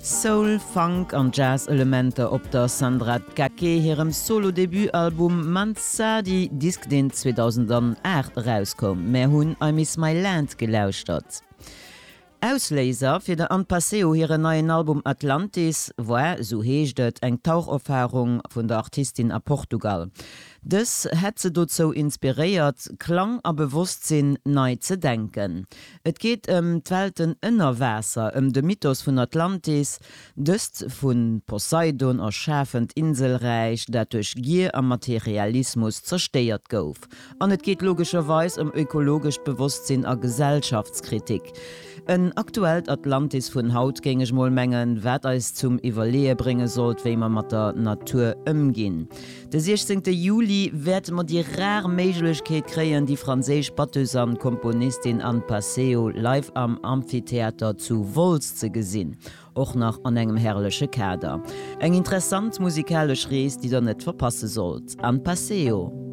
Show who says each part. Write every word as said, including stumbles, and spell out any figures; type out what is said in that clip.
Speaker 1: Soul, Funk an Jazz-Elementer op der Sandra Tkaké hirem Solo-Debutalbum Manzadi, Disk deen zweedausendanaacht erauskoum. Mär hunn I Miss My Land gelauschtert. Ausléiser fir der Anne Passeo hiren neien Album Atlantis war, sou heescht et, eng Taucherfarung vun der Artistin a Portugal. Dës hätt se dozou inspiréiert, Klang a Bewosstsinn nei ze denken. Et geet ëm d'Welten ënner Waasser, ëm de Mythos vun Atlantis, dëst vu Poseidon erschafent Inselräich, dat duerch Gier a Materialismus zerstéiert gouf. An et geet logescherweis ëm ökologescht Bewosstsinn a Gesellschaftskritik. En aktuellt Atlantis vun haut, géing ech mol mengen, wat eis zum Iwwerleeë brénge sollt, wéi mer mat der Natur ëmginn. De siechzéngte Juli wäerte mer déi rar Méiglechkeet kréien, déi franséisch Batteuse an Komponistin Anne Passeo live am Amphitheater zu Wolz ze gesinn, och nach an engem herrleche Kader. Eng interessant musikalesch Rees, déi der net verpasse sollt. Anne Passeo.